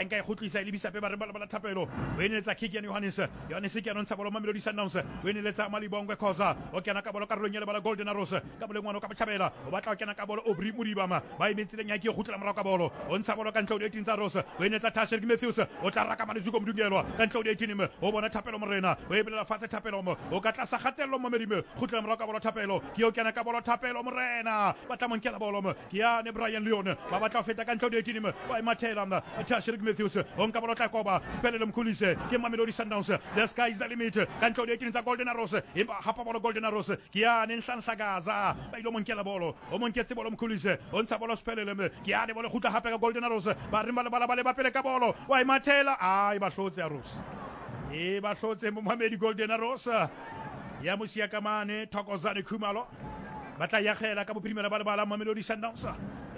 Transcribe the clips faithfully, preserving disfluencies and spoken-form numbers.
A nka e kgutlisa e lebisa pe ba re ba la Thapelo. O eneletsa Kikian Johannes. Johannes ke a ntsha bolo Mamelodi Sundowns. O eneletsa Malibongwe Khoza. O kena ka bolo karolong ya lebala Golden Arrows. Ka boleng ngwana ka botjhabela. O batla o kena ka bolo Aubrey Modiba ma. Ba emetse leng ya ke kgutlela morao ka bolo. O ntsha bolo ka ntle ho di-eighteen tsa Arrows. O eneletsa Tashrik Matthews. O tla raka mane Zuko Mdungelwa ka ntle ho di-eighteen me. O bona Thapelo Morena. O e belela fatshe Thapelo mo. O ka tlasa kgatello momedi me. Kgutlela morao ka bolo Thapelo. Ke o kena ka bolo Thapelo Morena. Ba tla mo nkela bolo mo. Ke yane Brian Leon. Ba batla ho feta ka ntle ho di-eighteen me. Ba e mathela mna. Tashrik Matthews. O nka bolo tla koba. Sphelele Mkhulise. Ke Mamelodi Sundowns. The sky is the limit. Ka ntle ho di-eighteen tsa Golden Arrows. Empa hapa bolo Golden Arrows. Ke yane Nhlanhlakaza. Ba ile mo nkela bolo. O mo nketse bolo Mkhulise. O ntsha bolo Sphelele me. Ke yane bolo kgutla hape ka Golden Arrows. Ba reng ba lebala ba leba pele ka bolo. Wa e mathela. Ai ba hlotse Arrows. E ba hlotse Momamedi Golden Arrows. Ya mosia ka mane Thokozane Khumalo. Ba tla yagela ka bophirimela ba lebala Mamelodi Sundowns.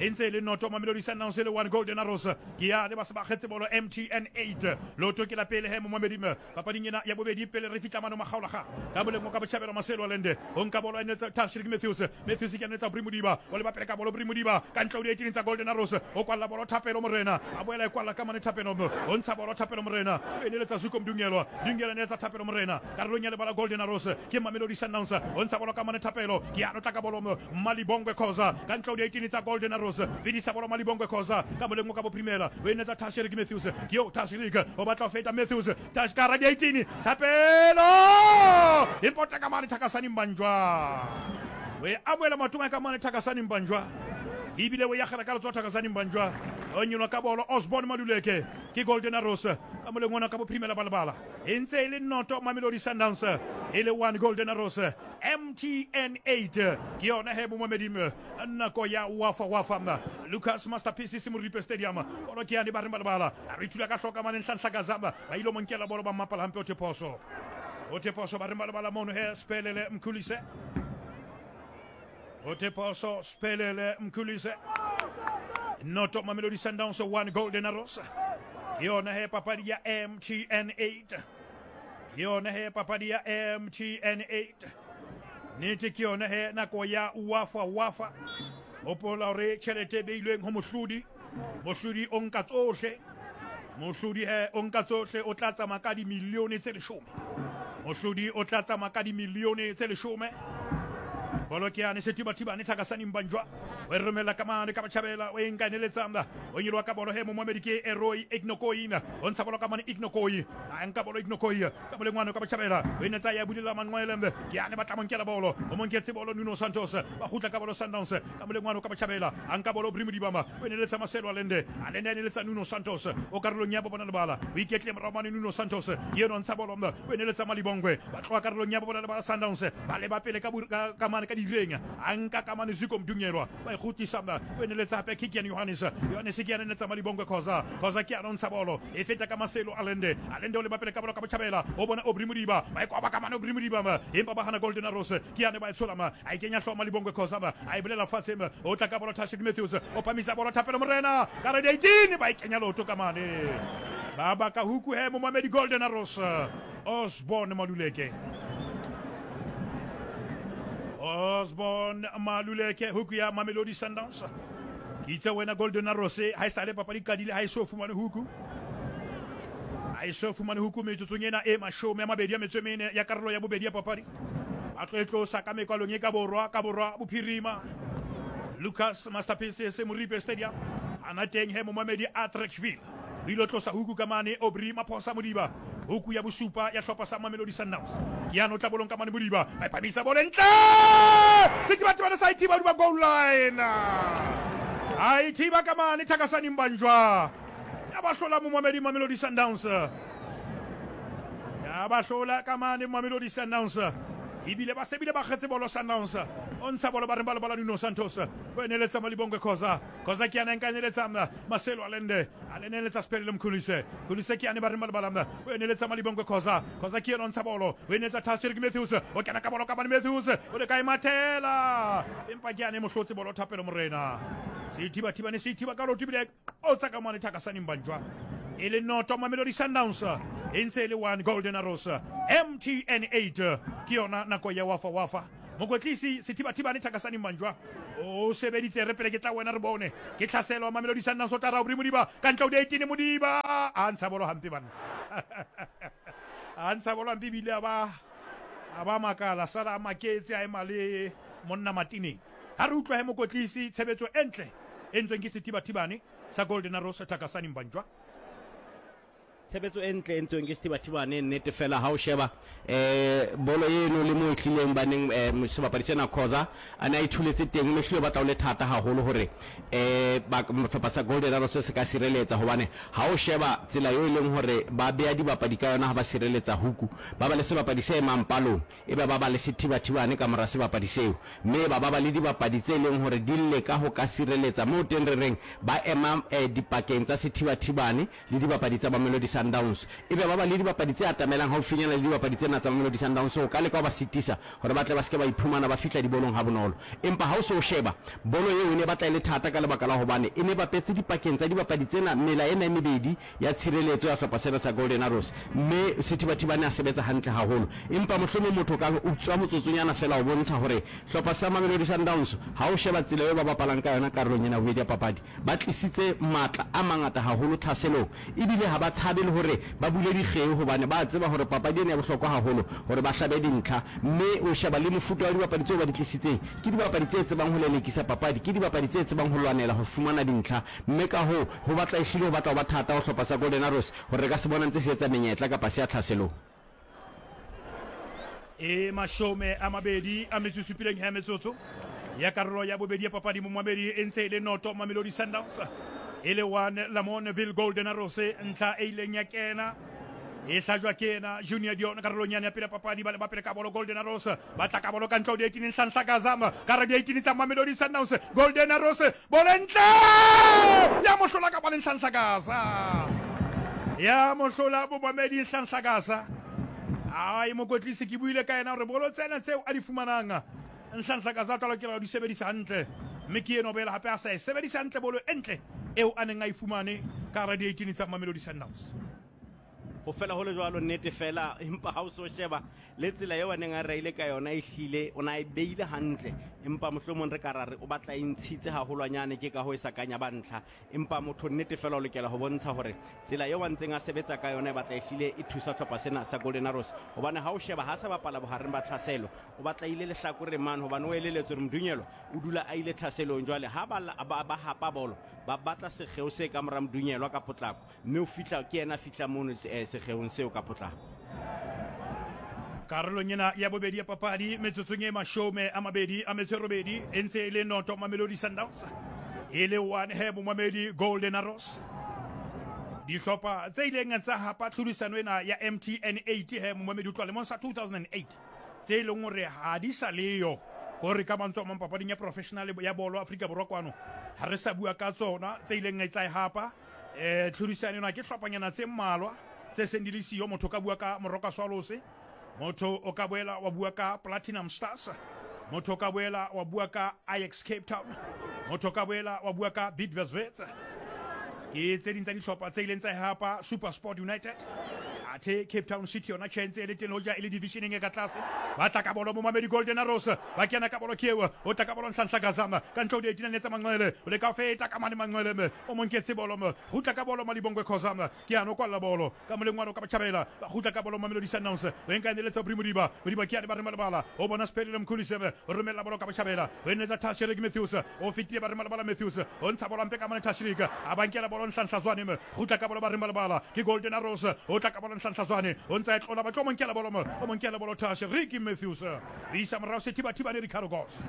E ntse e le noto Mamelodi Sundowns e le one Golden Arrows. Ke yane ba se ba kgetse bolo M T N eight. Loto ke la pele he Momamedi me. Papading ena ya bobedi pele re fitla mano makgaolaga. Ka boleng ka botjhabela Marcelo Allende. O nka bolo a netsa Tashrik Matthews. Matthews ke a netsa Aubrey Modiba. O leba pele ka bolo Aubrey Modiba. Ka ntle ho di-eighteen tsa Golden Arrows. O kwalla bolo Thapelo Morena. A boela e kwalla ka mane Thapelo mo. O ntsha bolo Thapelo Morena. O eneletsa Zuko Mdungelwa. Dungelwa netsa Thapelo Morena. Karolong ya lebala Golden Arrows. Ke Mamelodi Sundowns. O ntsha bolo ka mane Thapelo. Ke ya notla ka bolo mo. Malibongwe Khoza. Ka ntle ho di-eighteen tsa Golden Arrows. Fedisa bolo Malibongwe Khoza. Ka moleng ka bophirimela. O enetsa Tashrik Matthews. Ke eo Tashrik. O batla ho feta Matthews. Tash ka hara di-eighteen. Thapelo! E pota ka mane Thakasani Mbanjwa. O e amohela maotong a ka mane Thakasani Mbanjwa. Ebile o yagela ka letsoho Thakasani Mbanjwa. O nyolwa ka bolo Osborne Maluleke. Ke Golden Arrows. Ka moleng ona ka bophirimela ba lebala. E ntse e le noto Mamelodi Sundowns. E le one Golden Arrows. M T N eight. Ke yona he Momamedi nako ya wafa wafa. Lucas Masterpieces Moripe Stadium. Bolo ke yane ba reng ba lebala. A re thula ka hloka mane Nhlanhlakaza. Ba ile mo nkela bolo ba mmapala hampe o Theposo. O Theposo ba reng ba lebala mono he Sphelele Mkhulise. O Theposo Sphelele Mkhulise. Noto Mamelodi Sundowns one Golden Arrows. Ke yona he papadi ya M T N eight. Ke yona he papadi ya M T N eight. Nnete ke yona he nako ya wafa wafa. Hopola hore tjhelete e beilweng ho mohlodi. Mohlodi o nka tsohle. Mohlodi he o nka tsohle, o tla tsamaya ka dimilione tse leshome. Mohlodi o tla tsamaya ka dimilione tse leshome. Bolo ke yane Sethibathibane Thakasani Mbanjwa. O e romela ka mane ka botjhabela, o e nka eneletsa. O nyoloha ka bolo he Momamedi ke Eroi Ignokoi. O ntsha bolo ka mane Ignokoi. A nka bolo Ignokoi. Ka boleng ngwana ka botjhabela. O enetsa ya bulela Manqwele. Ke yane ba tla mo nkela bolo. O mo nketse bolo Nuno Santos. Ba kgutla ka bolo Sundowns. Ka boleng ngwana ka botjhabela. A nka bolo Aubrey Modiba. O eneletsa Marcelo Allende. Allende a eneletsa Nuno Santos. O karolong ya bobona lebala. O iketle morao mane Nuno Santos. Ke yena o ntsha bolo. O eneletsa Malibongwe. Ba tloha karolong ya bobona lebala Sundowns. Ba leba pele ka ka mane ka direng. A nka ka mane Zuko Mdungelwa. Ba e kgutlisa. O eneletsa hape Kikian Johannes. Johannes ke yena eneletsa Malibongwe Khoza. Khoza ke yena o ntsha bolo. E feta ka Marcelo Allende. Allende o leba pele ka bolo ka botjhabela. O bona Aubrey Modiba. Ba e koba ka mane Aubrey Modiba. Empa ba hana Golden Arrows. Ke yane ba e tshola. A e kenya hlooho Malibongwe Khoza. A e bolela fatshe. O tla ka bolo Tashrik Matthews. O phamisa bolo Thapelo Morena. Ka re eighteen ba e kenya leoto ka mane. Ba baka huku he Momamedi Golden Arrows. Osborne Maluleke. Osborne Maluleke huku ya Mamelodi Sundowns. Ke itse wena Golden Arrows ha e sale papadi qadile ha e so fumane huku. Ha e so fumane huku metsotsong ena e mashome a mabedi a metso e mene ya karolo ya bobedi ya papadi. Ba tlo e tlosa ka mekwalong e ka borwa ka borwa bophirima. Lucas Masterpieces Moripe Stadium. Ana teng he Momamedi Attractville. O ile tlosa huku ka mane Aubrey Maphosa Modiba. Huku ya bosupa ya hlopha sa Mamelodi Sundowns. Ke yano tla bolong ka mane Modiba. Ba phamisa bolo ntle. Sethibathibane sa ithiba duba goal line. A ithiba ka mane Thakasani Mbanjwa. Ya ba hlola Momamedi Mamelodi Sundowns. Ya ba hlola ka mane Mamelodi Sundowns. Ebile ba sebile ba kgetse bolo Sundowns. O ntsha bolo ba reng ba lebala Nuno Santos. O eneletsa Malibongwe Khoza. Khoza ke yena nka eneletsa Marcelo Allende. Allende eneletsa Sphelele Mkhulise. Mkhulise ke yane ba reng ba lebala. O eneletsa Malibongwe Khoza. Khoza ke yena o ntsha bolo. O eneletsa Tashrik Matthews. O kena ka bolo ka mane Matthews. O le ka e mathela. Empa ke yane mohlotse bolo Thapelo Morena. Sethibathibane se ithiba ka leoto ebile o tsa ka mane Thakasani Mbanjwa. E le noto Mamelodi Sundowns. E ntse e le one Golden Arrows. M T N eight. Ke yona nako ya wafa wafa. Mokwetlisi Sethibathibane Thakasani Manjwa o sebeditse re pele ke tla wena re bone ke tlhaselo Mamelodi Sundowns o tla ra Aubrey Modiba ka ntle o di-eighteen Modiba a ntsha bolo hampe banna a ntsha bolo hampe ebile a ba a ba makala sala a maketse a ema le monna matineng. Ha re utlwa he mokotlisi tshebetso e ntle e ntsweng ke Sethibathibane sa Golden Arrows Thakasani Mbanjwa. Tshebetso e ntle e ntsweng ke Sethibathibane nnete fela ha o sheba eh bolo eno le mo e tlileng baneng eh sebapadi sena Khoza a ne a ithuletse teng mme hlile batla o le thata haholo hore eh ba sehlopha sa Golden Arrows se ka sireletsa hobane ha o sheba tsela eo e leng hore ba beya dibapadi ka yona ha ba sireletsa huku ba ba le sebapadi se emang palong e ba ba ba le Sethibathibane ka mora sebapadi seo mme ba ba ba le dibapadi tse leng hore di leka ho ka sireletsa moo teng re reng ba ema eh, dipakeng tsa Sethibathibane le dibapadi tsa Mamelodi Sundowns e be ba ba le dibapadi tse atamelang haufinyana le dibapadi tsena tsa Mamelodi Sundowns ho ka leka ho ba sitisa hore ba tle ba se ke ba iphumana ba fihla dibolong ha bonolo. Empa ha o se o sheba bolo eo e ne batla e le thata ka lebaka la hobane e ne bapetse dipakeng tsa dibapadi tsena mela ena e mebedi ya tshireletso ya hlopha sena sa Golden Arrows mme Sethibathibane a sebetsa hantle haholo. Empa mohlomong motho ka utswa motsotsonyana fela ho bontsha hore hlopha sa Mamelodi Sundowns ha o sheba tsela eo ba bapalang ka yona karolong ena bobedi ya papadi ba tlisitse matla a mangata haholo tlhaselong ebile ha ba tshabe le hore ba bule dikgeo hobane ba tseba hore papadi ena e bohlokwa haholo hore ba hlabe dintlha mme o sheba le mofuta wa dibapadi tseo ba di tlisitseng ke dibapadi tse tsebang ho lelekisa papadi ke dibapadi tse tsebang ho lwanela ho fumana dintlha mme ka hoo ho batla ehlile ho batla ho ba thata ho hlopha sa Golden Arrows hore re ka se bona ntse se etsa menyetla kapa se ya tlhaselong. E mashome a mabedi a metso e supileng ya metsotso ya karolo ya bobedi ya papadi momamedi e ntse e le noto Mamelodi Sundowns e le one Lamontville Golden Arrows ntlha e ileng ya kena e hlajwa ke ena Junior Dion karolong yane ya pele papadi ba le ba pele ka bolo Golden Arrows ba tla ka bolo ka ntle ho di-eighteen Nhlanhla Kazama ka re di-eighteen tsa Mamelodi Sundowns Golden Arrows bolo e ntle ya mohlola ka bale Nhlanhla Kaza ya mohlola bomamedi Nhlanhla Kaza. Ai mokotlisi ke buile ka yena hore bolo tsena tseo a di fumanang Nhlanhla Kaza tla lokela ho di sebedisa hantle mme ke eno boela hape a sa e sebedisa hantle bolo e ntle eo a neng a e fumane ka hara di-eighteen tsa Mamelodi Sundowns. Ho fela ho le jwalo nnete fela empa ha o so sheba le tsela eo a neng a reile ka yona e hlile o na e beile hantle empa mohlomong re ka ra re o batla e ntshitse haholwanyane ke ka ho e sa kanya ba ntlha empa motho nnete fela o lokela ho bontsha hore tsela eo a ntseng a sebetsa ka yona e batla e hlile e thusa hlopha sena sa Golden Arrows hobane ha o sheba ha sa bapala bohareng ba tlhaselo o batla ile lehlakoreng mane hobane o eleletswe hore Mdunyelwa o dula a ile tlhaselong jwale ha ba ba, ba hapa bolo ba batla sekgeo se ka mora Mdunyelwa ka potlako mme o fihla ke yena a fihla mono eh, sekgeong seo ka potlako. Karolong ena ya bobedi ya papadi metsotsong e mashome a mabedi a metso e robedi e ntse e le noto Mamelodi Sundowns e le one he bomamedi Golden Arrows. Dihlopha tse ileng tsa hapa tlhodisano ena ya M T N eight he momamedi utlwa lemong sa two thousand eight tse e leng hore ha di sa leyo hore ka mantswe a mang papading ya professional ya bolo Afrika Borwa kwano ha re sa bua ka tsona tse ileng tsa e hapa eh tlhodisano ena ke hlophanyana tse mmalwa tse seng di le siyo. Motho ka bua ka Moroka Swallows, motho o ka boela wa bua ka Platinum Stars, motho o ka boela wa bua ka Ajax Cape Town, motho o ka boela wa bua ka Bidvest Wits. Ke tse ding tsa dihlopha tse ileng tsa hapa SuperSport United. Athe Cape Town City yona tjhe ntse e le teng hoja e le divisioneng e ka tlase. Ba tla ka bolo momamedi Golden Arrows ba kena ka bolo ke eo o tla ka bolo Nhlanhla Kazama ka ntle ho di-eighteen tsa Manqele o leka ho feta ka mane Manqele me o mo nketse bolo me kgutla ka bolo Malibongwe Khozama ke ano kwalla bolo ka moleng wa ka botjhabela ba kgutla ka bolo Mamelodi Sundowns o enka neletsa Aubrey Modiba Modiba ke ane ba re malebala o bona Sphelele Mkhulise me o romella bolo ka botjhabela o enetsa Tashreeq Matthews o fetile ba re malebala Matthews o ntsha bolo mpe ka mane Tashreeq a ba nkela bolo Nhlanhla Zwane me kgutla ka bolo ba re malebala ke Golden Arrows o tla ka bolo Nhlanhla Zwane o ntsa e tlola ba tlo mo nkela bolo mo o mo nkela bolo Tashreeq Matthews o isa morao Sethibathibane Ricardo Goss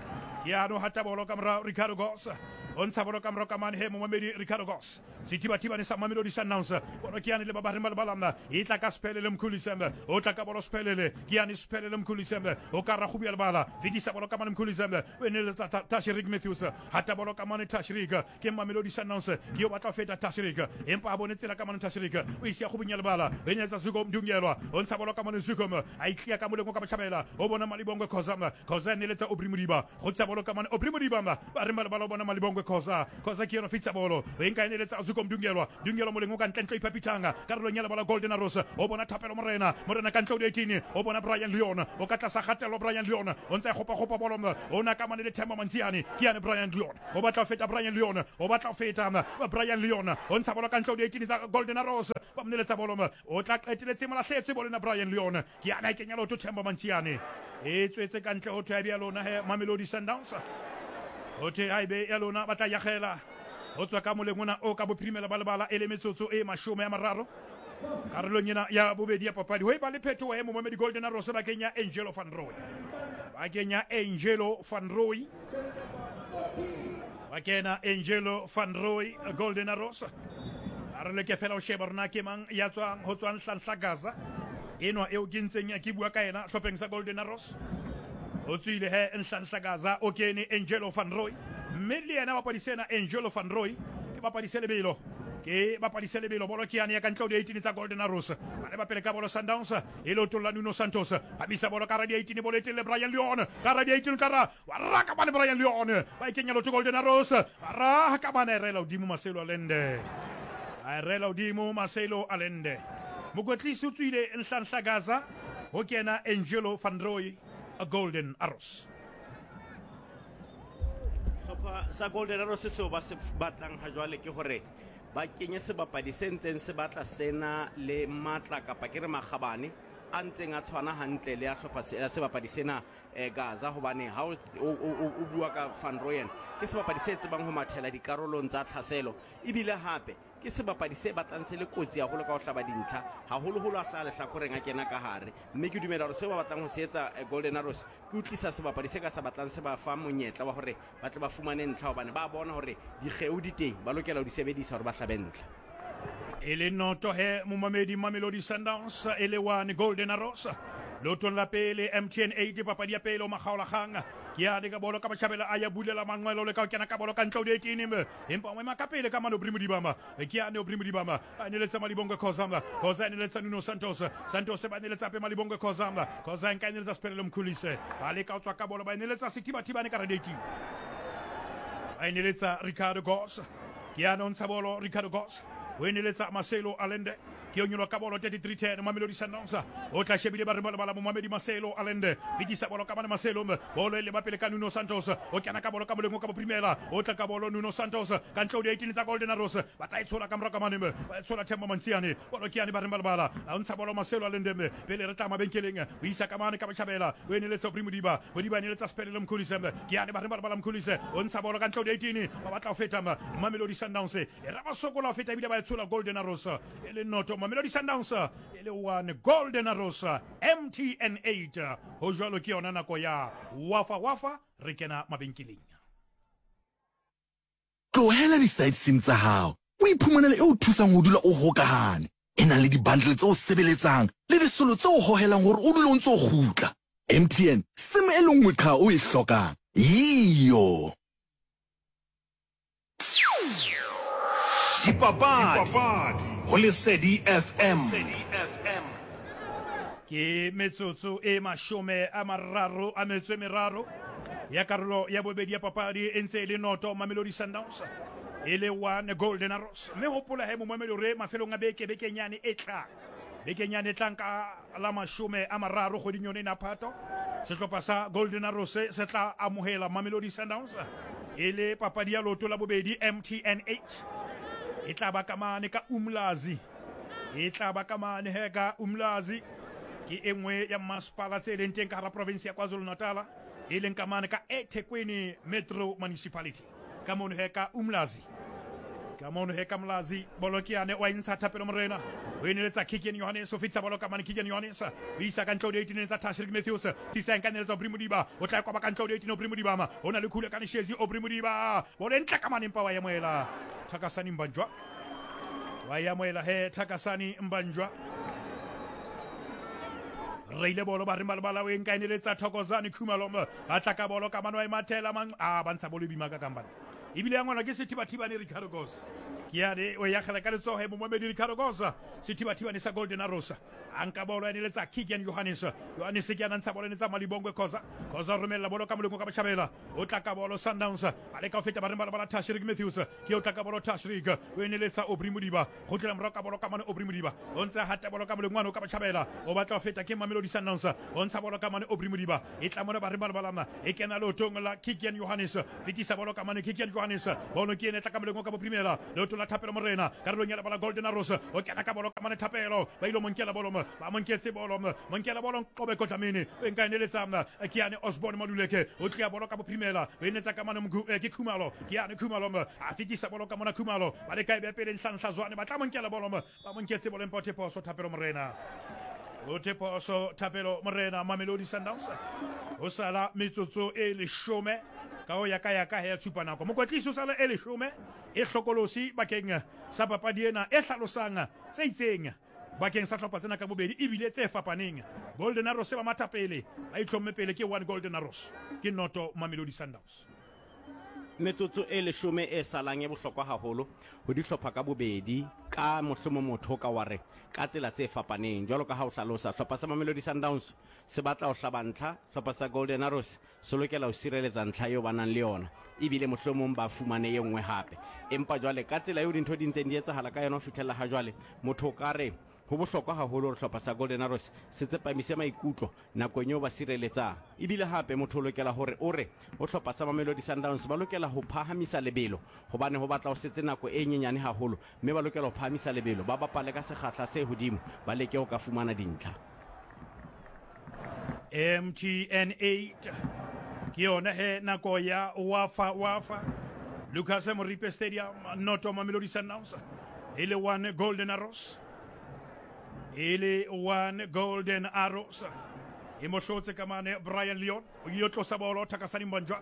ke ano hata bolo ka morao Ricardo Goss o ntsha bolo ka morao ka mane he momamedi Ricardo Goss Sethibathibane sa Mamelodi Sundowns bolo ke yane le ba ba re malebala e tla ka Sphelele Mkhulise o tla ka bolo Sphelele ke yane Sphelele Mkhulise o ka ra go bua lebala fetisa bolo ka mane Mkhulise o eneletsa Tashreeq Matthews hata bolo ka mane Tashreeq ke Mamelodi Sundowns ke yo batla feta Tashreeq empa a bone tsela ka mane Tashreeq o isia go bunya lebala o eneletsa Zuko Mdungelwa o ntsha bolo ka mane Zuko a itlia ka moleng o ka botjhabela o bona Malibongwe Khozama Khoza eneletsa Aubrey Modiba go tsa bolo ka mane Aubrey Modiba ba re ba bona Malibongwe Khoza Khoza ke yona fitsa bolo o enka eneletsa Zuko Mdungelwa Dungelwa moleng o ka ntle ntle iphapithanga karolong ya lebala Golden Arrows o bona Thapelo Morena Morena ka ntle o eighteen o bona Brian Leon o ka tlasa kgatello Brian Leon o ntse a gopa gopa bolo o na ka mane le Themba Mantsiane ke yane Brian Leon o batla ho feta Brian Leon o batla ho feta Brian Leon o ntsha bolo ka ntle o eighteen tsa Golden Arrows ba mneletsa bolo o tla qeteletse molahletse bolo na Brian Leon ke yana e kenya lotho Themba Mantsiane e tswetse ka ntle ho thwe ya lona he Mamelodi Sundowns ho thwe ha ebe ya lona ba tla yagela ho tswa ka moleng ona o ka bophirimela ba lebala e le metsotso e mashome a mararo karolong ena ya bobedi ya papadi ho e ba le phetoho e momamedi Golden Arrows ba kenya Angelo van Rooy ba kenya Angelo van Rooy ba kena Angelo van Rooy Golden Arrows a re leke fela ho sheba rona ke mang ya tswang ho tswang Nhlanhla Gaza enwa eo ke ntseng ke bua ka yena hlopheng sa Golden Arrows o tswile he Nhlanhla Gaza o kene Angelo van Rooy mme le yena bapadi sena Angelo van Rooy ke bapadi se lebelo ke bapadi se lebelo bolo ke yane ya ka ntle ho di-eighteen tsa Golden Arrows ba le ba pele ka bolo Sundowns e leotong la Nuno Santos phamisa bolo ka ra di-eighteen bolo e telle Brian Leon ka ra di-eighteen ka ra wa raka bane Brian Leon ba e kenya lotho Golden Arrows ba raka bane rela hodimo Marcelo Allende a rela hodimo Marcelo Allende mokwetlisi o tswile Nhlanhla Gaza ho kena Angelo van Rooy Golden Arrows hlopha sa Golden Arrows seo ba se batlang ha jwale ke hore ba kenye sebapadi se ntseng se batla sena le matla kapa ke re makgabane a ntseng a tshwana hantle le ya hlopha sebapadi sena Gaza hobane ha o bua ka Van Rooyen ke sebapadi se tsebang ho mathela dikarolong tsa tlhaselo ebile hape ke sebapadi se batlang se le kotsi haholo ka ho hlaba dintlha haholoholo a hlaha lehlakoreng a kena ka hare mme ke dumela hore seo ba batlang ho se etsa Golden Arrows ke utlwisa sebapadi se ka sa batlang se ba fa monyetla wa hore ba tle ba fumane ntlha hobane ba bona hore dikgeo di teng ba lokela ho di sebedisa hore ba hlabe ntlha e le noto he momamedi Mamelodi Sundowns e le one Golden Arrows leotong la pele M T N eight papadi ya pele o makgaolakgang ke yane ka bolo ka batjhabela a ya bulela manqwelo le ka ho kena ka bolo ka ntle ho di-eighteen empa o ema ka pele ka mane Aubrey Modiba ke yane Aubrey Modiba a neletsa Malibongwe Khoza Khoza a neletsa Nuno Santos Santos ba neletsa hape Malibongwe Khoza Khoza nka neletsa Sephelelo Mkhulise ba leka ho tswa ka bolo ba neletsa Sethibathibane ka ra di-eighteen ba neletsa Ricardo Goss ke yane o ntsha bolo Ricardo Goss o eneletsa Marcelo Allende ke o nyolwa ka bolo thirty-three ten Mamelodi Sundowns o tla shebile ba re bala momamedi Marcelo Allende fetisa bolo ka mane Marcelo bolo e leba pele ka Nuno Santos o kena ka bolo ka moleng o ka boprimela o tla ka bolo Nuno Santos ka ntle ho di-eighteen tsa Golden Arrows ba tla e tshola ka morao ka mane ba e tshola Themba Mantsiane bolo ke yane ba reng ba lebala a ntsha bolo Marcelo Allende pele re tla mabenkeleng o isa ka mane ka botjhabela o eneletsa Aubrey Modiba Modiba eneletsa Sephelelo Mkhulise ke yane ba reng ba lebala Mkhulise o ntsha bolo ka ntle ho di-eighteen ba batla ho feta Mamelodi Sundowns e ra ba sokola ho feta ebile ba e tshola Golden Arrows e le noto Mamelodi Sundowns e le one Golden Arrows M T N eight ho jwalo ke yona nako ya wafa wafa re kena mabenkeleng. Tlohela di-side sim tsa hao o iphumanele e o thusang ho dula o hokahane e nang le di-bundle tse o sebeletsang le disolo tse o hohelang hore o dule o ntse o kgutla. M T N sim e le nngwe qha o e hlokang iyo. Dipapadi ho Lesedi F M. Ke metsotso e mashome a mararo a metso e meraro ya karolo ya bobedi ya papadi e ntse e le noto Mamelodi Sundowns e le one Golden Arrows mme hopola he momamedi hore mafelong a beke bekenyane e tlang bekenyane e tlang ka la mashome a mararo kgweding yone ena Phato sehlopha sa Golden Arrows se tla amohela Mamelodi Sundowns e le papadi ya loto la bobedi M T N eight e tla ba ka mane ka Umlazi e tla ba ka mane he ka Umlazi ke e nngwe ya masepala tse leng teng ka hara province ya KwaZulu-Natal e leng ka mane ka eThekwini Metro Municipality ka mono he ka Umlazi ka mono he ka Mlazi bolo ke yane wa intsha Thapelo Morena o eneletsa Keegan Johannes o fetisa bolo ka mane Keegan Johannes o isa ka ntle ho di-eighteen tsa Tashreeq Matthews tisa nka neletsa Aubrey Modiba o tla kwaba ka ntle ho di-eighteen Aubrey Modiba o na le khule ka Nshezi Aubrey Modiba bolo e ntle ka mane mpa wa emoela Thakasani Mbanjwa wa yamoela he Thakasani Mbanjwa reile bolo ba re malebala o e nka eneletsa Thokozani Khumalo ba tla ka bolo ka mane wa e mathela mang a ba ntsha bolo e bima ka kambane ebile ya ngwana ke Sethibathibane Ricardo Goss Ke yane o yakgela ka letsoho e momamedi Ricardo Gosa sethibathibane sa Golden Arrows a nka bolo ya neletsa Keegan Johannes. Johannes ke yana ntsha bolo netsa Malibongwe Khoza. Khoza romella bolo ka molemo ka botjhabela o tla ka bolo Sundowns ba leka ho feta ba reng ba bala Tashrik Matthews ke o tla ka bolo Tashrik o eneletsa Aubrey Modiba go tlela morao ka bolo ka mane Aubrey Modiba o ntse hata bolo ka molemo ka botjhabela o batla ho feta ke Mamelodi Sundowns o ntsha bolo ka mane Aubrey Modiba e tla mona ba reng ba bala e kena leotong la Keegan Johannes fetisa bolo ka mane Keegan Johannes bolo ke ene tla ka molemo ka boprimela leoto la Thapelo Morena karolong ya lebala Golden Arrows o kena ka bolo ka mane Thapelo ba ile monkela bolo ba monketse bolo monkela bolo qobe kotlamene o nka eneletsa ke yane Osborne Maluleke o tlia bolo ka boprimela o enetsa ka mane ke Khumalo ke yane Khumalo a fetisa bolo ka mona Khumalo ba le ka e pele Nhlanhla Zwane ba tla monkela bolo ba monketse bolo mpote poso Thapelo Morena o te poso Thapelo Morena Mamelodi Sundowns o sala metsotso e leshome ka ho ya ka ya ka ya tshupa nako mokwetlisi o sala e leshome e hlokolosi bakeng sa papadi ena e hlalosang tse itseng bakeng sa hlopha tsena ka bobedi ebile tse fapaneng. Golden Arrows ba matha pele ba itlhomme pele ke one Golden Arrows ke noto Mamelodi Sundowns. Metsotso e leshome e salang e bohlokwa haholo ho dihlopha ka bobedi ka mohlomong motho ka wa re ka tsela tse fapaneng jwalo ka ha o hlalosa hlopha sa Mamelodi Sundowns se batla ho hlaba ntlha hlopha sa Golden Arrows se lokela ho sireletsa ntlha eo ba nang le yona ebile mohlomong ba fumane e nngwe hape empa jwale ka tsela eo dintho di ntseng di etsahala ka yona ho fihlella ha jwale motho o ka re ho bohlokwa haholo hore hlopha sa Golden Arrows se tsepamise maikutlo nakong eo ba sireletsang ebile hape motho o lokela hore o re ho hlopha sa Mamelodi Sundowns ba lokela ho phahamisa lebelo hobane ho batla ho setse nako e nyenyane haholo mme ba lokela ho phahamisa lebelo ba bapale ka sekgahla se hodimo ba leke ho ka fumana dintlha. M T N eight ke yona he nako ya Wafa Wafa Lucas Moripe Stadium noto Mamelodi Sundowns e le one Golden Arrows ele one Golden Arrows e mohlotse ka mane Brian Leon o ile tlosa bolo Thakasani Mbanjwa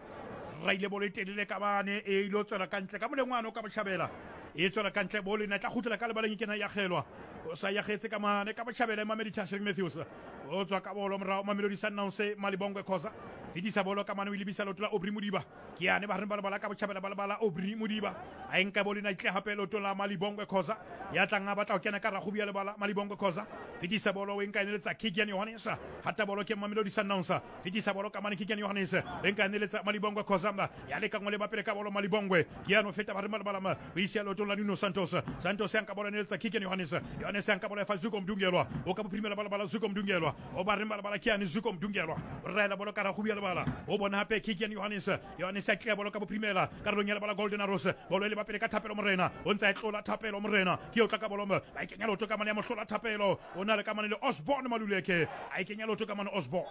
raile bolo e telele ka mane e ile tswela ka ntle ka molengwana o ka botjhabela e tswela ka ntle bolo ena tla kgutlela ka lebaleng e kena ya kgelwa o sa yagetse ka mane ka botjhabela Mamelodi Tashrik Matthews o tswa ka bolo morao Mamelodi Sundowns Malibongwe Khoza fetisa bolo ka mane o lebisa leoto la Aubrey Modiba ke yane ba reng ba lebala ka botjhabela ba lebala Aubrey Modiba a enka bolo ena itle hape leoto la Malibongwe Khoza ya tlang a batla ho kena ka ragobi ya lebala Malibongwe Khoza fetisa bolo o enka eneletsa Keegan Johannes hata bolo ke Mamelodi Sundowns fetisa bolo ka mane Keegan Johannes enka eneletsa Malibongwe Khoza ya leka ngole ba pele ka bolo Malibongwe ke yane o feta ba reng ba lebala o isia leoto la Nuno Santos Santos ya nka bolo eneletsa Keegan Johannes Johannes ya nka bolo ya fa Zuko Mdungelwa o ka bophirimela ba lebala Zuko Mdungelwa o ba reng ba lebala ke yane Zuko Mdungelwa o raela bolo ka ragobi ya lebala o bona hape Keegan Johannes Johannes a tlia bolo ka bophirimela karolong ya lebala Golden Arrows bolo e le ba pele ka Thapelo Morena o ntse a tlola Thapelo Morena ke o tla ka bolo ba ikenya leoto ka mane ya mohlola Thapelo o na le ka mane le Osborne Maluleke a ikenya leoto ka mane Osborne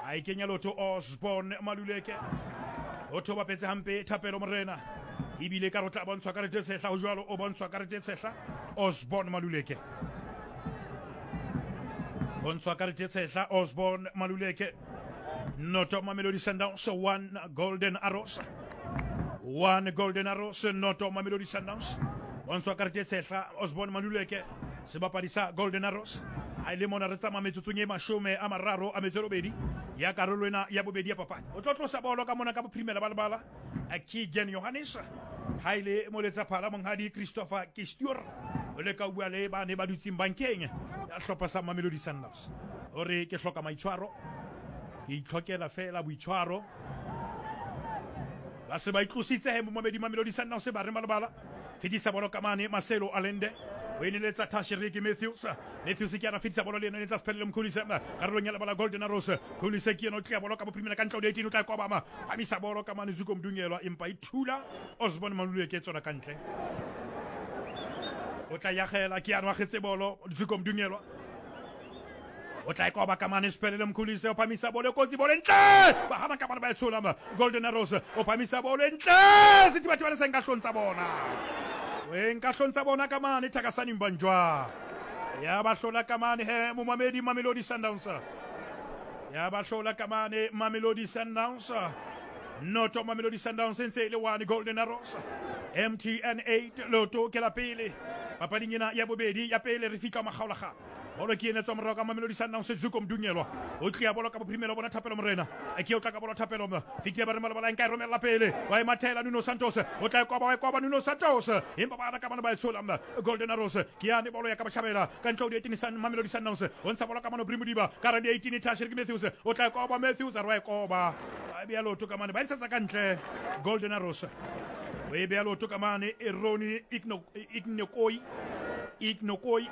a ikenya leoto Osborne Maluleke o thoba petse hampe Thapelo Morena ebile ka re tla bontshwa karete tshehla ho jwalo o bontshwa karete tshehla Osborne Maluleke bontshwa karete tshehla Osborne Maluleke noto Mamelodi Sundowns one Golden Arrows one Golden Arrows noto Mamelodi Sundowns bontshwa karete tshehla Osborne Maluleke sebapadi sa Golden Arrows ha ile mona re tsamaya metsotsong e mashome a mararo a metso e robedi ya karolo ena ya bobedi ya papadi o tlo tlosa bolo ka mona ka bophirimela ba lebala Keegan Johannes ha ile moletsa phala monghadi Christopher Kistior o le ka bua le ba ne ba dutseng bankeng ya hlopha sa Mamelodi Sundowns o re ke hloka maitshwaro ke itlhokela fela boitshwaro ba se ba itlositse he momamedi Mamelodi Sundowns ba re malebala fetisa bolo ka mane Marcelo Allende o eneletsa Tashrik Matthews Matthews ke ana fetisa bolo le ena eneletsa Sphelele Mkhulise karolong ya lebala Golden Arrows Mkhulise ke ena o tlia bolo ka bophirimela ka ntle o eighteen o tla kobama phamisa bolo ka mane Zuko Mdungelwa empa e thula Osborne Maluleke tswela ka ntle o tla yagela ke ana wa getse bolo Zuko Mdungelwa o tla ikoba ka mane Sphelele Mkhulise o phamisa bolo kotsi bolo ntle ba hana ka bana ba e tshola Golden Arrows o phamisa bolo ntle sethibathibane se nka hlontsa bona o nka hlontsa bona ka mane Thakasani Mbanjwa ya ba hlola ka mane he momamedi Mamelodi Sundowns ya ba hlola ka mane Mamelodi Sundowns noto Mamelodi Sundowns ntse le one Golden Arrows M T N eight loto ke la pele papading ena ya bobedi ya pele re fihla makgaolakgang Bolo ke ene tswa morao ka Mamelodi Sundowns Zuko Mdunyelwa o tlia bolo ka bophirimelo bona Thapelo Morena ke o tla ka bolo Thapelo fitia ba re malabala nka e romella pele wa e mathela Nuno Santos o tla e koba wa e koba Nuno Santos empa ba ka bana ba e tshola Golden Arrows ke yane bolo ya ka botjhabela ka ntle ho di eighteen San Mamelodi Sundowns o ntsha bolo ka mano Brimodiba ka ra di eighteen Tashrik Matthews o tla e koba Matthews a re wa e koba ba bea loto ka mane ba ntshetsa ka ntle Golden Arrows o e bea loto ka mane Eroni Ignokoi Ignokoi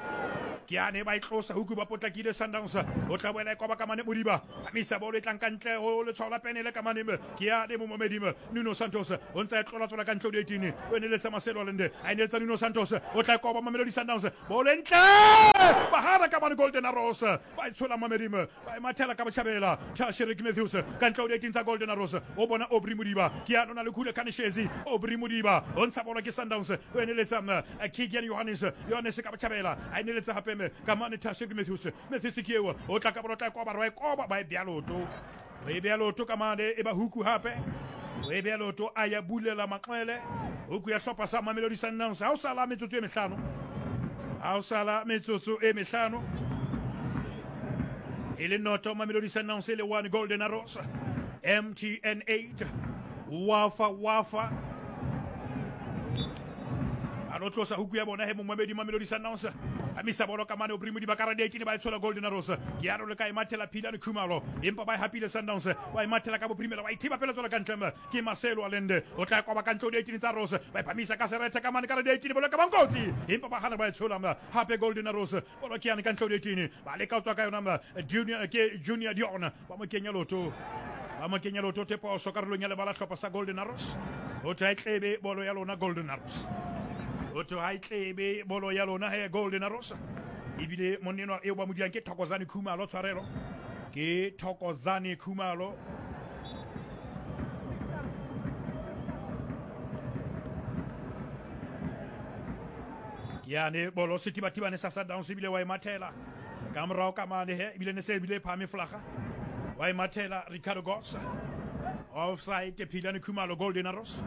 ke ane ba itlosa huku ba potlakile Sundowns o tla boela e koba ka mane Modiba phamisa bolo e tlang ka ntle ho letshwao la penele ka mane ke ane momomedimo Nuno Santos o ntsa e tlola tlola ka ntle ho di eighteen o eneletsa Marcelo Allende a eneletsa Nuno Santos o tla e koba Mamelodi Sundowns bolo e ntle bahara ka mane Golden Arrows ba e tshola Mamedimo ba e mathela ka botjhabela Tashrik Matthews ka ntle ho di eighteen tsa Golden Arrows o bona Aubrey Modiba ke ane o na le Khule Khaneshezi Aubrey Modiba o ntsha bolo ke Sundowns o eneletsa Keegan Johannes Johannes ka botjhabela a eneletsa hape ka mane Tashrik Matthews Matthews ke eo o tla ka bolo tla koba rwa e koba ba e bea loto o e bea loto ka mane e ba huku hape o e bea loto a ya bulela maqwele huku ya hlopha sa Mamelodi Sundowns ha o sala metsotso e mehlano ha o sala metsotso e mehlano e le noto Mamelodi Sundowns e le one Golden Arrows M T N eight Wafa Wafa a lo tlosa huku ya bona he momamedi Mamelodi Sundowns amisa bolo ka mane Aubrey Modiba ka ra di eighteen ba e tshola Golden Arrows ke ya le ka e mathela Philane Khumalo empa ba e hapile Sundowns ba e mathela ka bophirimela ba ithiba pele tswela ka ntle ke Marcelo Allende o tla koba ka ntle ho di eighteen tsa Rose ba e phamisa ka serethe ka mane ka ra di eighteen bolo ka bankotsi empa ba hana ba e tshola hape Golden Arrows bolo ke yane ka ntle ho di eighteen ba leka ho tswa ka yona Junior ke Junior Dion ba mo kenya loto ba mo kenya loto teposo karolong ya lebala hlopha sa Golden Arrows ho tla tlebe bolo ya lona Golden Arrows o tho ha itlebe bolo ya lona he Golden Arrows ebile monnenwa eo ba modiang ke Thokozani Khumalo tshwarelo ke Thokozani Khumalo yane bolo sethibathibane sa Sundowns ebile wa e mathela ka morao ka mane he ebile ne se ebile e phahame flaga wa e mathela Ricardo Goss offside Philane Khumalo Golden Arrows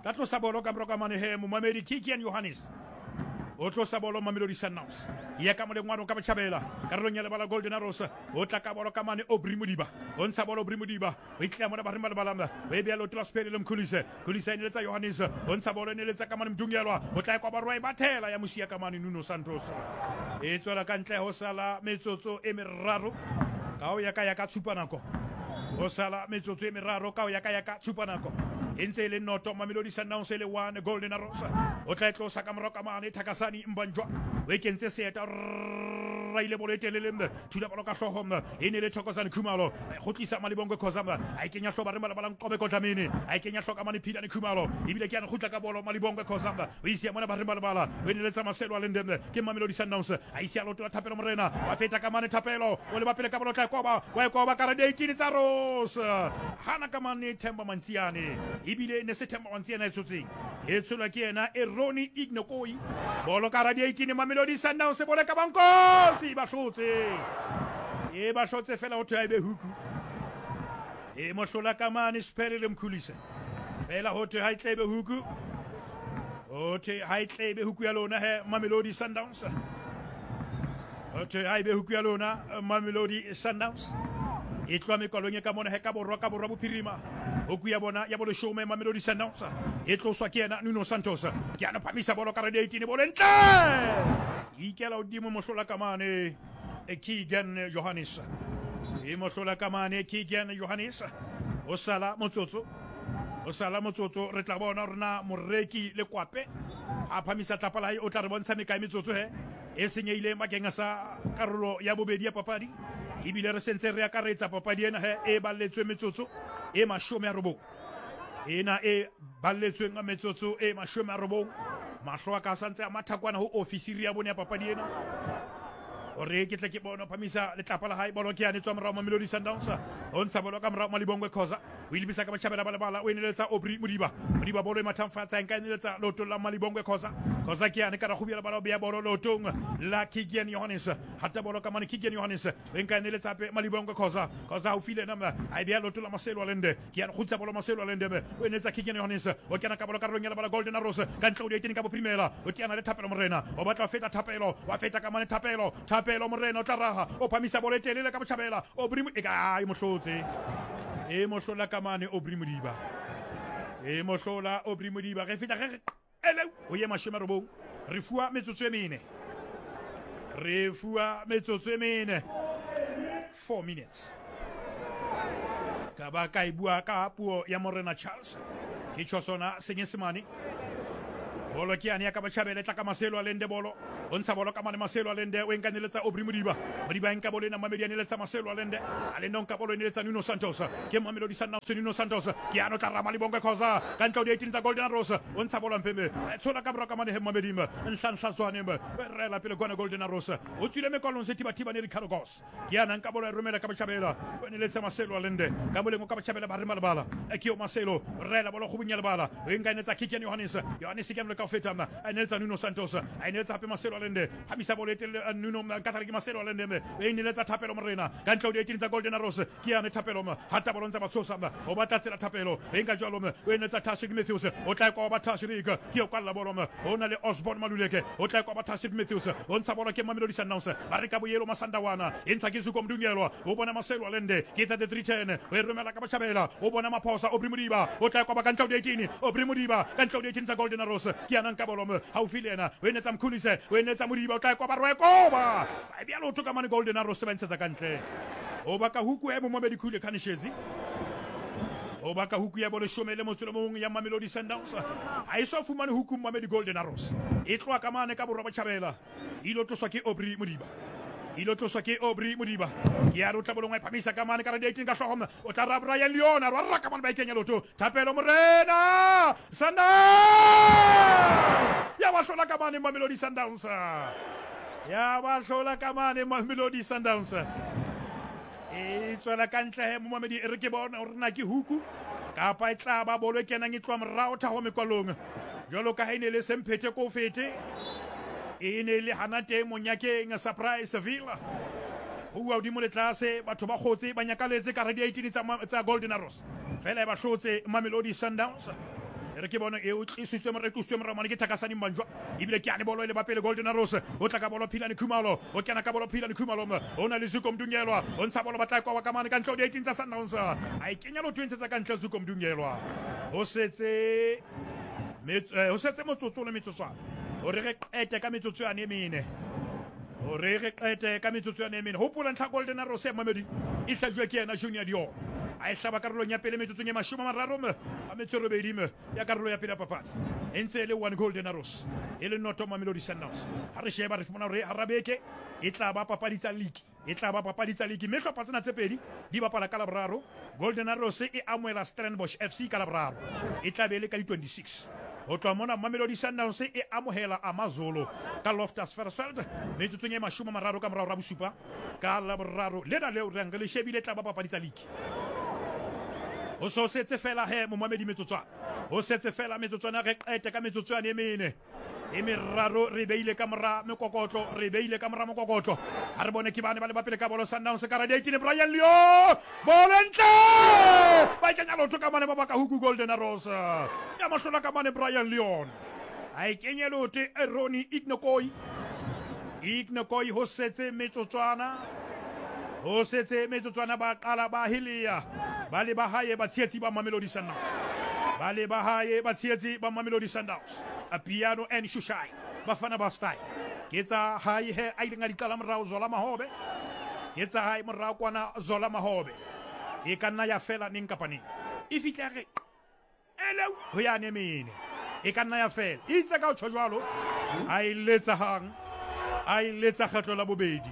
tla tlosa bolo ka morao ka mane he momamedi Kikian Johannes o tlosa bolo Mamelodi Sundowns ya ka molengwano ka botjhabela karolong ya lebala Golden Arrows o tla ka bolo ka mane Aubrey Modiba o ntsha bolo Aubrey Modiba o itla mona ba re malabala o e bea loto la Spele le Mkhulise Khulise e neletsa Johannes o ntsha bolo e neletsa ka mane Mdungelwa o tla e kwa barwa e bathela ya mosia ka mane Nuno Santos e tswela ka ntle ho sala metsotso e meraro ka ho ya ka ya ka tshupa nako ho sala metsotso e meraro ka ho ya ka ya ka tshupa nako e ntse e le noto Mamelodi Sundowns e le one Golden Arrows o tla e tlosa ka morao ka mane Thakasani Mbanjwa o e kentse seeta raile bolo e telele thula bolo ka hlooho e ne le Thokozani Khumalo kgutlisa Malibongwe Khoza a e kenya hloba re malabala Nqobe Kodlamini a e kenya hloka mane Philane Khumalo ebile ke yana kgutla ka bolo Malibongwe Khoza o isia mona ba re malabala o neletsa Marcelo Allende ke Mamelodi Sundowns a isia loto la Thapelo Morena wa feta ka mane Thapelo o leba pele ka bolo tla koba wa e koba ka ra eighteen tsa Rose hana ka mane Themba Mantsiane ebile ne se Themba Mantsiane e tshotseng e tsholwa ke yena Eroni Ignokoi bolo ka ra eighteen Mamelodi Sundowns bolo ka bankotsi ba hlotse e ba hlotse fela ho thwe a ebe huku e mohlola ka mane Spele le Mkhulise fela ho thwe ha e tlebe huku ho thwe ha e tlebe huku ya lona he Mamelodi Sundowns ho thwe ha ebe huku ya lona Mamelodi Sundowns e tloha mekwalong e ka mona he ka borwa ka borwa bophirima huku ya bona ya boleshome Mamelodi Sundowns e tloswa ke yena Nuno Santos ke yana phamisa bolo ka ra eighteen bolo ntle ikela hodimo mohlola ka mane Keegan Johannes e mohlola ka mane Keegan Johannes o sala motsotso o sala motsotso re tla bona rona moreki le kwape a phamisa tlapa la hae o tla re bontsha mekae metsotso he e senyehileng bakeng sa karolo ya bobedi ya papadi ebile re sentse re akaretsa papadi ena he e balletswe metsotso e mashome a robong ena e balletsweng metsotso e mashome a robong mahlo a ka santse a mathakwana ho ofisiri ya bone ya papadi ena Hore ke tle ke bone phamisa letlapa la hae bolo ke yane tswa morao Mamelodi Sundowns. O ntsha bolo ka morao Malibongwe Khoza. O ilebisa ka batjhabela ba lebala o eneletsa Aubrey Modiba. Modiba bolo e mathang fatshe nka eneletsa leotong la Malibongwe Khoza. Khoza ke yane ka rakgubela bala o beya bolo leotong la Keegan Johannes. Hata bolo ka mane Keegan Johannes. O nka eneletsa hape Malibongwe Khoza. Khoza haufi le yena a e beya leotong la Marcelo Allende. Ke yane kgutsa bolo Marcelo Allende. O eneletsa Keegan Johannes. O kena ka bolo karolong ya lebala Golden Arrows. Ka ntle o di ka boprimela. O teana le Thapelo Morena. O batla ho feta Thapelo. Wa feta ka mane Thapelo. Thapelo Morena o tla raha. O phamisa bolo e telele ka botjhabela. Aubrey e ka e mohlotse. E mohlola ka mane Aubrey Modiba. E mohlola Aubrey Modiba. Re feta re ele o ye mashome a robong. Re fuwa metsotso e mene. Re fuwa metsotso e mene. Four minutes. Ka ba ka e bua ka puo ya Morena Charles. Ke tjho sona Senyesemane. Bolo ke yane ya ka batjhabela e tla ka Marcelo Allende bolo. O ntsha bolo ka mane Marcelo Allende o nkaneletsa Aubrey Modiba. Modiba nka bolo ena Mamedi a neletsa Marcelo Allende. Allende o nka bolo e neletsa Nuno Santos. Ke Mamelodi Sundowns Nuno Santos. Ke yano tla rama Malibongwe Khoza. Ka ntle o di eighteen tsa Golden Arrows. O ntsha bolo mpeme. Tshola ka morao ka mane he Mamedi. Nhlanhla Zwane. Rela pele kwana Golden Arrows. O tswile mekolong se thiba-thiba ne Ricardo Goss. Ke yana nka bolo e romela ka botjhabela. O neletsa Marcelo Allende. Ka moleng o ka botjhabela ba re malebala. Ke yo Marcelo. Rela bolo kgobong ya lebala. O nkaneletsa Keegan Johannes. Johannes ke ka feta a neletsa Nuno Santos. A neletsa hape Marcelo Allende. Phamisa bolo e telele Nuno nka ke Marcelo Allende. E neletsa Thapelo Morena. Ka ntle o di eighteen tsa Golden Arrows. Ke yane Thapelo. Hata bolo ntse ba tshosa. O batla tsela Thapelo. E nka jwalo. O neletsa Tashreeq Matthews. O tla kwa ba Tashreeq. Ke yo kwalla bolo. O na le Osborne Maluleke. O tla kwa ba Tashreeq Matthews. O ntsha bolo ke Mamelodi Sundowns. Ba re ka boyelo Masandawana. E ntshwa ke Zuko Mdungelwa. O bona Marcelo Allende. Ke thirty-three ten. O e romela ka botjhabela. O bona Maphosa Aubrey Modiba. O tla kwa ba ka ntle o di eighteen. Aubrey Modiba ka ntle o di eighteen tsa Golden Arrows. Ke yana nka bolo haufi le yena. O enetsa Mkhulise. O enetsa Modiba. O tla kwa ba Rwekoba. Ba bea leoto ka mane Golden Arrows ba ntshetsa ka ntle. O baka huku e Momamedi Khule Khanishezi. O baka huku ya boleshome le motso le mong ya Mamelodi Sundowns. Ha e so fumane huku Mamedi Golden Arrows. E tloha ka mane ka borwa botjhabela. Ilo tloswa ke Aubrey Modiba. Ilo tloswa ke Aubrey Modiba. Ke ya re o tla bolong wa phamisa ka mane ka re eighteen ka hlooho. O tla ra Brian Leon a rwa ka mane ba e kenya leoto. Thapelo Morena Sundowns. Ya ba hlola ka mane Mamelodi Sundowns. Ya ba hlola ka mane Mamelodi Sundowns. E tswela ka ntle he Momamedi e re ke bona hore na ke huku kapa e tla ba bolo e kenang e tloha morao thaho mekwalong. Jwalo ka ha e ne le semphete ko fete. E ne le hana teng monyakeng Surprise Villa. Ho bua hodimo le tlase batho ba kgotse ba nyakaletse ka re eighteen tsa tsa Golden Arrows. Fela e ba hlotse Mamelodi Sundowns. E re ke bona e o tlisitswe morao tlisitswe morao mane ke Thakasani Mbanjwa. Ebile ke ane bolo e le ba pele Golden Arrows. O tla ka bolo Philane Khumalo. O kena ka bolo Philane Khumalo. O na le Zuko Mdungelwa. O ntsha bolo ba tla kwa ka mane ka ntle o di eighteen tsa Sundowns. A e kenya lotho e ntshetsa ka ntle Zuko Mdungelwa. Ho setse ho setse motsotso le metsotswana. Hore re qete ka metsotso yane e mene. Hore re qete ka metsotso yane e mene. Hopola ntlha Golden Arrows ya Mamedi e hlajuwe ke yena Junior Dior. A e hlaba karolong ya pele metsotsong e mashome a mararo a metso e robedi ya karolo ya pele ya papadi. E ntse e le one Golden Arrows e le noto Mamelodi Sundowns. Ha re sheba re fumana hore hara beke e tla ba papadi tsa league. E tla ba papadi tsa league. Mme hlopha tsena tse pedi di bapala ka Laboraro. Golden Arrows e amohela Stellenbosch F C ka Laboraro. E tla be e le ka di twenty-six. Ho tloha mona Mamelodi Sundowns e amohela Amazulu ka Loftus Versfeld metsotsong e mashome a mararo ka morao ra bosupa ka Laboraro. Lena leo re le shebile tla ba papadi tsa league. Ho so setse fela he Momamedi metsotswana. Ho setse fela metsotswana re qete ka metsotswana e mene. E meraro re beile ka mora mekokotlo, re beile ka mora mokokotlo. Ha re bone ke bane ba le ba pele ka bolo Sundowns ka ra eighteen Brian Leon. Bolo ntle! Ba kenya lotho ka mane ba baka huku Golden Arrows. Ya mohlola ka mane Brian Leon. A e kenye lotho Ronnie Ignokoi. Ignokoi ho setse metsotswana. Ho setse metsotswana ba qala ba helea. Ba le ba hae ba tshehetsi ba Mamelodi Sundowns. Ba le ba hae ba tshehetsi ba Mamelodi Sundowns. A piano and shushai. Bafana ba style. Ke tsa hae he a ileng a di qala morao Zola Mahobe. Ke tsa hae morao kwana Zola Mahobe. E ka nna ya fela neng kapa neng. E fihla re ele ho ya nemene. E ka nna ya fela. Itse ka o tjho jwalo. A e letsa hang. A e letsa kgetlo la bobedi.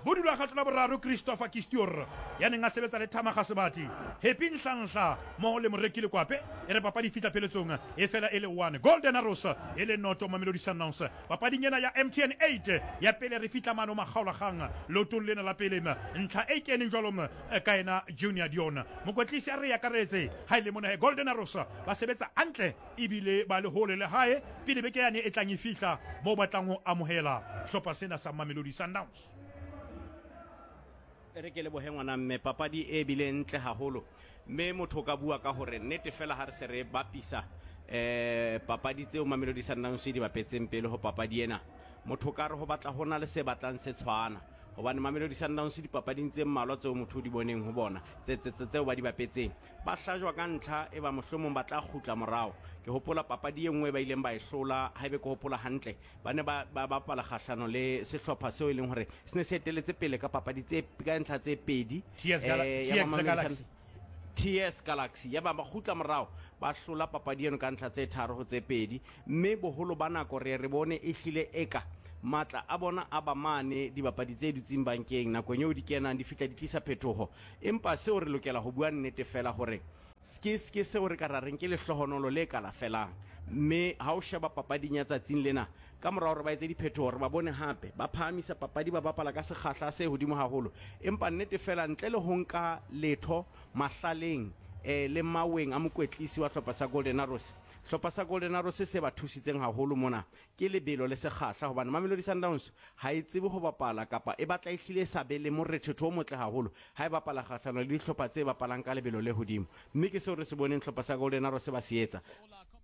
Bodula kgato la boraro Christopher Kistior ya neng a sebetsa le Thamaga Sebati Happy Nhlanhla mo le Moreki Lekwape e re papadi fihla pheletsong e fela e le one Golden Arrows e le noto Mamelodi Sundowns papading ena ya M T N eight ya pele re fihla mano makgaolakgang lotong lena la pele ntlha e keneng jwalo ka ena Junior Dion mokwetlisi a re akaretse ha ile mona Golden Arrows ba sebetsa hantle ebile ba le hole le hae pele beke yane e tlang e fihla mo batlang ho amohela hlopha sena sa Mamelodi Sundowns. Re ke lebohe ngwana mme papadi e bile ntle haholo mme motho ka bua ka hore nnete fela ha re se re bapisa eh papadi tseo Mamelodi Sundowns di bapetseng pele ho papadi ena motho ka re ho batla hona le se batlang se tshwana hobane Mamelodi Sundowns dipapading tse mmalwa tseo motho di boneng ho bona tse tse tseo ba di bapetseng ba hlajwa ka ntlha e ba mohlomong ba tla kgutla morao. Ke hopola papadi e nngwe ba ileng ba e hlola haebe ke hopola hantle ba ne ba ba bapala kgahlano le sehlopha seo e leng hore se ne se eteletse pele ka papadi tse ka ntlha tse pedi eh ya Galaxy T S Galaxy ya ba ba kgutla morao ba hlola papadi eno ka ntlha tse tharo ho tse pedi mme boholo ba nako re re bone e hlile eka matla a bona a ba mane dibapadi tse dutseng bankeng nakong eo di kenang di fihla di tlisa phetoho empa seo re lokela ho bua nnete fela hore ke ke seo re ka ra reng ke lehlohonolo le ka la felang mme ha o sheba papading ya tsatsing lena ka morao re ba etse diphetoho re ba bone hape ba phahamisa papadi ba bapala ka sekgahla se hodimo haholo empa nnete fela ntle le ho nka letho mahlaleng eh le maweng a mokwetlisi wa hlopha sa Golden Arrows hlopha sa Golden Arrows se ba thusitseng haholo mona ke lebelo le sekgahla hobane Mamelodi Sundowns ha e tsebe ho bapala kapa e batla e hlile sa be le morethetho o motle haholo ha e bapala kgahlano le dihlopha tse bapalang ka lebelo le hodimo mme ke seo re se boneng hlopha sa Golden Arrows ba se etsa.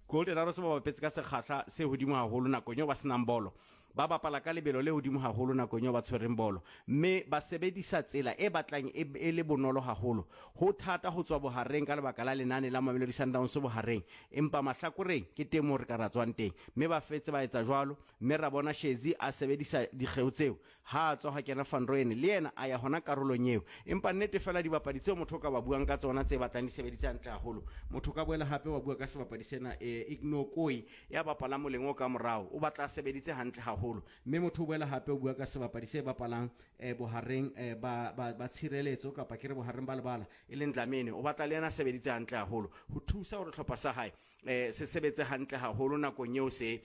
Golden Arrows ba bapetse ka sekgahla se hodimo haholo nakong eo ba senang bolo ba bapala ka lebelo le hodimo haholo nakong eo ba tshwereng bolo mme ba sebedisa tsela e batlang e le bonolo haholo ho thata ho tswa bohareng ka lebaka la lenane la Mamelodi Sundowns bohareng empa mahlakoreng ke teng moo re ka ra tswang teng mme ba fetse ba etsa jwalo mme ra bona Shezi a sebedisa dikgeo tseo ha a tswa ha kena Van Rooyen le yena a ya hona karolong eo empa nnete fela dibapadi tseo motho ka ba buang ka tsona tse batlang di sebedisa hantle haholo motho ka boela hape wa bua ka sebapadi sena e Ignokoi ya bapala moleng o ka morao o batla sebeditse hantle haholo mme motho o boela hape o bua ka sebapadi se bapalang eh, bohareng eh, ba ba, ba tshireletso kapa ke re bohareng ba lebala e leng Dlamini o batla le yena sebeditse hantle haholo ho thusa hore hlopha sa hae eh, se sebetse hantle haholo nakong eo se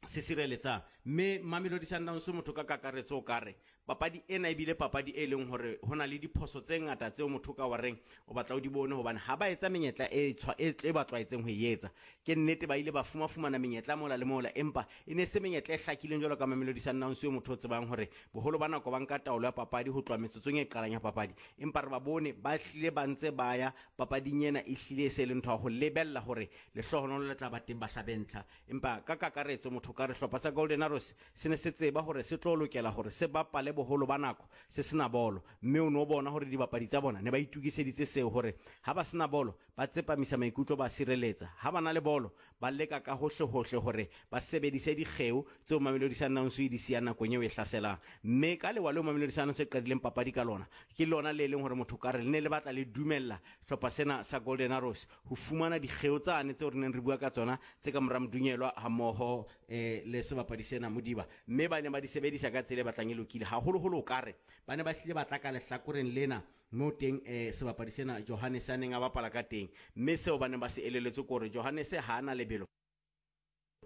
se sireletsang mme Mamelodi Sundowns motho ka kakaretso o kare papadi ena ebile papadi e leng hore hona le diphoso tse ngata tseo motho ka wareng o batla o di bone hobane ha ba etsa menyetla e tshwa e tle ba tlwaetseng ho e etsa ke nnete ba ile ba fuma fumana menyetla mola le mola empa e ne se menyetla e hlakileng jwalo ka Mamelodi Sundowns eo motho o tsebang hore boholo ba nako ba nka taolo ya papadi ho tloha metsotsong e qalang ya papadi empa re ba bone ba hlile ba ntse ba ya papading ena e hlile e se le ntho ya ho lebella hore lehlohonolo le tla ba teng ba hlabe ntlha empa ka kakaretso motho ka re hlopha sa Golden Arrows se ne se tseba hore se tlo lokela hore se bapale boholo ba nako se sena bolo mme o no bona hore dibapadi tsa bona ne ba itukiseditse seo hore ha ba sena bolo ba tsepamisa maikutlo ba sireletsa ha ba na le bolo ba leka ka hohle hohle hore ba sebedise dikgeo tseo Mamelodi Sundowns e di siya nakong eo e hlaselang mme ka lewa leo Mamelodi Sundowns e qadileng papadi ka lona ke lona le leng hore motho ka re le ne le batla le dumella hlopha sena sa Golden Arrows ho fumana dikgeo tsane tseo re neng re bua ka tsona tse ka mora Modunyelwa hammoho eh le sebapadi sena Modiba mme ba ne ba di sebedisa ka tsela e batlang e lokile haholoholo o kare ba ne ba hlile ba tla ka lehlakoreng lena mo teng eh sebapadi sena Johannes a neng a bapala ka teng mme seo ba neng ba se eleletse kore Johannes ha ana lebelo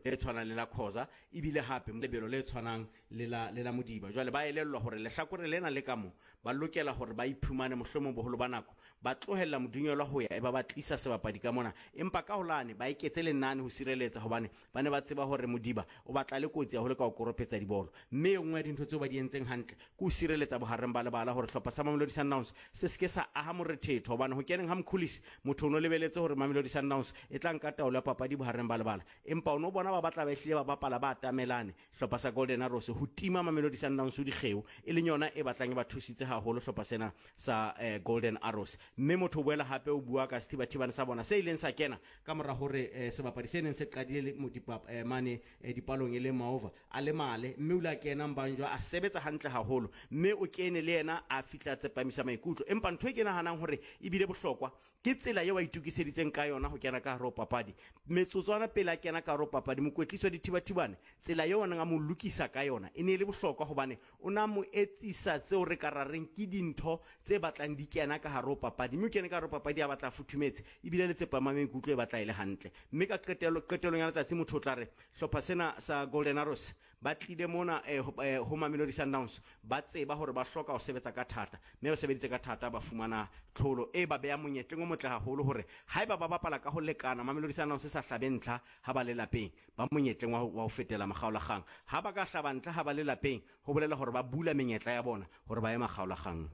le tshwanang le la Khoza ebile hape lebelo le tshwanang le la le la Modiba jwale ba elellwa hore lehlakore lena le ka mo ba lokela hore ba iphumane mohlomong boholo ba nako ba tlohella Modunyelwa ho ya e ba ba tlisa sebapadi ka mona empa ka holane ba eketse lenane ho sireletsa hobane ba ne ba tseba hore Modiba o batla le kotsi haholo ka ho koropetsa dibolo mme e nngwe ya dintho tseo ba di entseng hantle ke ho sireletsa bohareng ba lebala hore hlopha sa Mamelodi Sundowns se seke sa aha morethetho hobane ho keneng ha Mkhulisi motho o no lebeletse hore Mamelodi Sundowns e tla nka taolo ya papadi bohareng ba lebala empa o no bona ba batla ba ehlile ba bapala ba atamelane hlopha sa Golden Arrows ho tima Mamelodi Sundowns dikgeo e leng yona e batlang e ba thusitse haholo hlopha sena sa eh, Golden Arrows mme motho o boela hape o bua ka sethibathibane sa bona se ileng sa kena ka mora hore eh, sebapadi se neng se qadile le modipap eh, mane eh, dipalong e le Maova a le male mme o ile a kena Mbanjwa a sebetsa hantle haholo mme o kene le yena a fihla tsepamisa maikutlo empa ntho e ke nahanang hore ebile bohlokwa ke tsela eo a itukiseditseng ka yona ho kena ka hare ho papadi metsotswana pele a kena ka hare ho papadi Mokwetlisi wa Dithibathibane, tsela eo a neng a mo lokisa ka yona e ne e le bohlokwa, hobane o na mo etsisa tseo re ka ra reng ke dintho tse batlang di kena ka hare ho papadi, mme o kene ka hare ho papadi a batla a futhumetse, ebile le tsepama maikutlo e batla e le hantle. Mme ka qetelo, qetelong ya letsatsi motho o tla re hlopha sena sa Golden Arrows ba tlile mona eh, ho, eh, ho Mamelodi Sundowns ba tseba hore ba hloka ho sebetsa ka thata, mme ba sebeditse ka thata, ba fumana tlholo e ba beha monyetleng o motle haholo hore haeba ba bapala ka ho lekana, Mamelodi Sundowns e sa hlabe ntlha ha ba le lapeng, ba monyetleng wa ho, wa ho fetela makgaolakgang. Ha ba ka hlaba ntlha ha ba le lapeng, ho bolela hore ba bula menyetla ya bona hore ba ye makgaolakgang.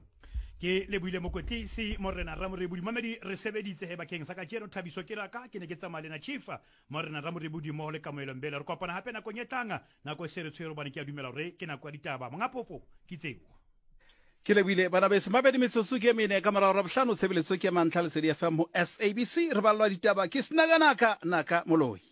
Ke lebohile mokwetlisi Morena Ramorebodi. Mamedi, re sebeditse he bakeng sa kajeno. Thabiso ke raka ke ne ke tsamaya le na Chief Morena Ramorebodi mmoho le Kamohelo Mbele. Re kopana hape nakong e tlang, nako e se re tshwere hobane ke a dumela hore ke nako ya ditaba. Monga phofo ke tseo. Ke lebohile bana beso. Mabedi metsotso ke mene ka morago ra bohlano, tshebeletso ke ya mantlha Lesedi F M ho S A B C. Re ballwa ditaba ke Senakanaka Naka Moloi.